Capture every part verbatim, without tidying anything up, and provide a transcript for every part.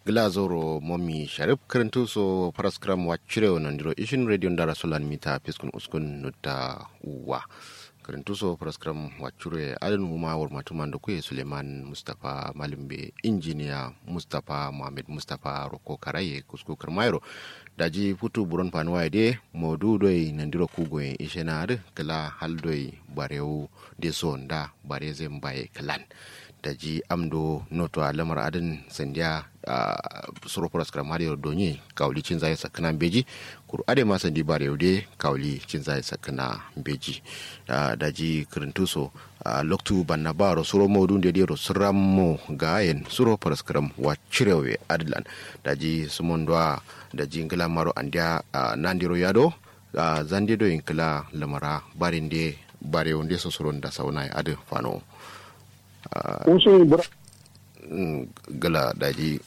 Gla zauro momi sharif kǝrǝntu so faraskǝram waccire wo nandiro ishin radio ndara solan mita fiskun uskun nutta uwa. Kǝrǝntu so faraskǝram waccire adǝn wuma wurmatu mando kuye suleiman mustapha malumbe injiniya mustapha muhammed mustapha rokko karaye kusku kǝrmayero. Daji futu buron fanuwaye de modu doi nandiro kugoyen ishena adǝ kǝla hal doi barewu de so nda bare zai mbaye kǝlan. Daji amdo noto a lamar adǝn sandiya suro faraskǝram adǝ yero donye kawuli cinzaye sakkǝna mbeji. Kuru adǝ ma sandi barewu de kawuli cinzaye sakkǝna mbeji. Daji kǝrǝntu so loktu banna baro suro modu nde dero sǝrammo gayen suro faraskǝram waccire we adǝlan. Daji sǝmon doa daji ngla maro andiya nandiro yado. Zande do yin kǝla lamara bare nde bare wunde so suro nda sauna adǝ fano. Usun bura. Gla daji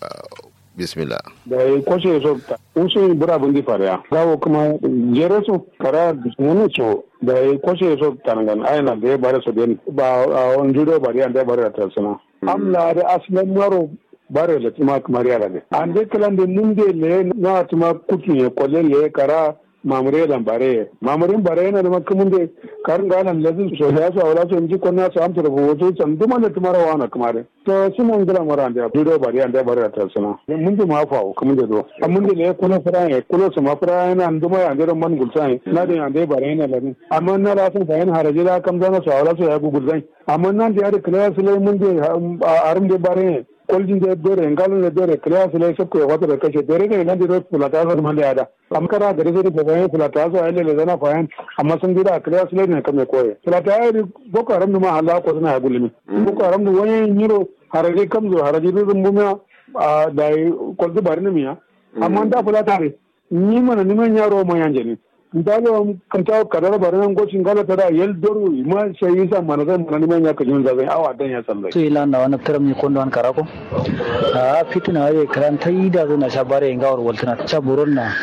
bismillah. Dayi koshe so usun bura bundi fariya gawo kuma jere so kara wuni so dayi koshe so tangan aina da bare so den ba. Awon judo bare ande bare da tasuna. Amla da aslan maro bare le tuma kamar yara de ande klan de mun de le na tuma kukin ya kole le kara. Mamure lan bare mamurin bare yana da makamun de karin galan lazin so ya so awla so inji konna so amsa da boto san duma da tumara wana kamare. To suna ngila mara ande dudo bare ande bare ta suna mun de ma fa kamun de do. Mun de le kulo fara ya kulo sama fara yana anduma ya ande man gulsan na de ande bare yana ladin amma na la san fa yana haraji da kam zana so awla so ya gugulsan. Amma nan de ya da kala su lai mun de arum de bare koljin de dore ngalun de dore kala su lai sakko ya wata da kashe dore de nan de do fulata so man de ada. Amma kara gari sai da fayan fulata so ai lele zana fayan. Amma sun gida kala su lai ne kame koye fulata ya ri boko haram ma Allah ko suna ya gulmi. Boko haram da wani nyiro haraji kamzo haraji dudun bumiya. Da kolzu bari ni miya. Amma da fulata ne ni mana ni man yaro ma yanje ne. Ndalo kanta kadara bari nan goci ngala tada yel doru ma shayi sa mana zai mana ni man ya kajun zazai awa dan ya sallai. Su ila na wani tiram ni kondo an karako. A fitina wale kran tai da zuna sha bare ngawar waltana cha buron na.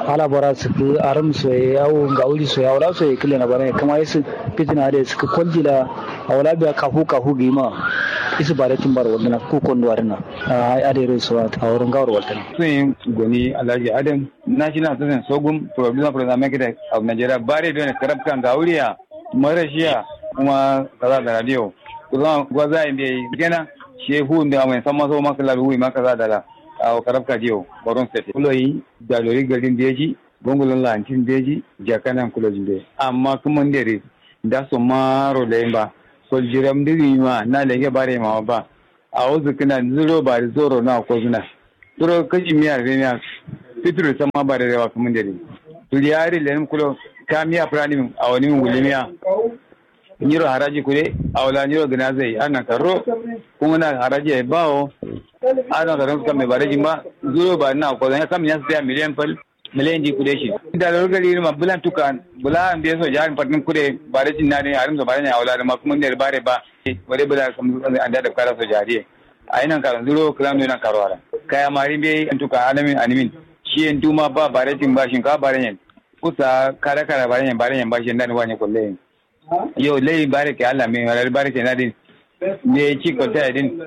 Ala bara su ku aram soye awo ngawuri soye awla soye kile na bare kuma isu fitina wale su ku koljila. Awla biya kafu kafu gima isu bare timbar waltana ku kondo adana. A ade ro so a wurin ngawar waltana. Sun goni alhaji adam. National association sogum provisional president mekita of nigeria bare done karabka ngawuriya. Marashiya kuma kaza da radio. Kusan gwaza yin bai gena. Shehu da mai san maso maka labi wui maka za da la. A karabka diyo boron state kuloyi. Dalori garin beji. Gongolon lantin beji. Jakanan kulojin bai amma kuma nderi. Da so maro da yin ba. Koljiram diri ma na lege bare ma ba. Awo zǝkkǝna nzuro bari zoro na kozǝna. Turo kashi miya re miya. Fituru samma bare rewa kǝmǝnde dǝ. Turi ya ri lenǝm kulo. Ka miya fǝranimin awonimin wulimiya. Nyiro haraji kude. Awo la nyiro gǝna zai annan karro. Kungǝna haraji yayi bawo. Annan karro kamme bare jimba. Nzuro bari na kozǝna kam nya sǝtiya miliyan fal. Milendi kude shi. Nda lorgari ma bulan tukan bula an be soja an fatin kude. Bare cin na ne arim so bare ne awla da ma kuma ne bare ba. Bare bula kam an da dabkara soja diye. Ayi nan karan zuro kala no nan karo ara. Kaya mari be an tuka alamin animin. Shi en duma ba bare cin ba shin ka bare ne. Kusa kara kara bare ne bare ne ba shi nan wanye kulle. Yo lai bare ke allah me wala bare ke nadin. Me ci kwalta ya din.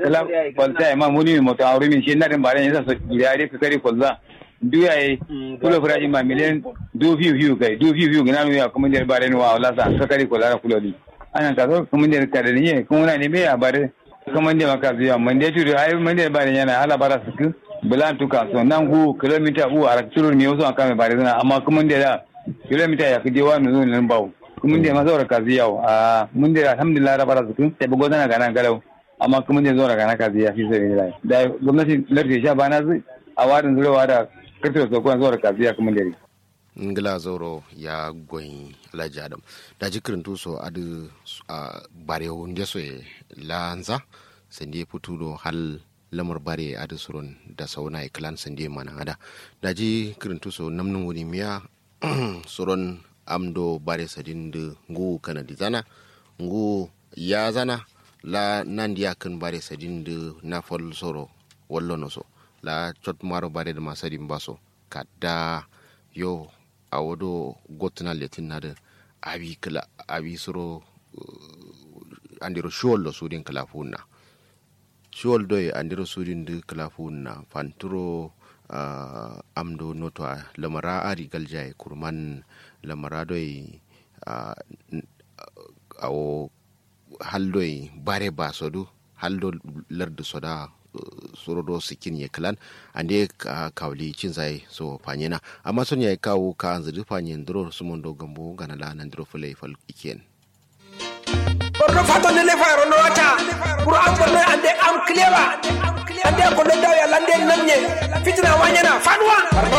Kala kwalta ya ma muni moto auri min shi nadin bare ne sa so ya de ka kari kwalza. Duya ye. Kulo furaji ma miliyan. Du fiu fiu kai du fiu fiu gina ya kuma der bare ne wa wala sa ka kari kwalza kulo di. Anan ka so kuma der ka da ne kuma na ne me ya bare. Kuma der maka zuya man der tudu ai man der bare yana ala bara suku. Bulan tuka so nan gu kilomita u arak turur mi wasu an kame bare zana amma kuma der da. Kilomita ya kǝje wa nuzun nan bawo. Kǝmǝnde ma zaura kazi yawo a kǝmǝnde alhamdulillah rabara zǝkǝn. Sai bugo zana gana galau. Amma kǝmǝnde zaura gana kazi ya fi sabilillah da gomnati lardi sha bana zǝ. A wadǝn zuro wada kǝrtǝro sokon zaura kazi ya kǝmǝnde dǝ. Ngla zauro ya goyi alhaji adam. Daji kǝrǝntu so adǝ. Bare wunde so ye lanza. Sande futu do hal lamar bare adǝ suron da sauna ye kǝlan sande mana ada. Daji kǝrǝntu so namnǝm wuni miya. Suron amdo bare sadin dǝ nguwu kanadi zana. Nguwu ya zana. La nandi yakkǝn bare sadin dǝ nafal soro. Wallono so la cot maro bare dǝma sadin ba so. Kadda yo. Awo do gottǝna lettǝnna dǝ. Awi kǝla awi suro. Andero shiwallo sudin kǝla fuwunna. Shi wal doi andiro sudin dǝ kǝla fuwun na fanturo. Am do noto a lamara ari galjaye kurman lamara doi. Awo hal doi bare ba so dǝ hal do lardǝ so da suro do sǝkkin ye kǝlan ande kawuli cinzaye so fanyena amma son yayi kawu ka anzǝ dǝ fanyen dǝro sumon do gambo gana la nandiro fǝlai fal ikkiyen. Borno fato nde nde fayero nowata. Kuru am borno ande am kǝlewa. Ande a kollo dawo yalla ande namnye. Fitina wanyena fanuwa.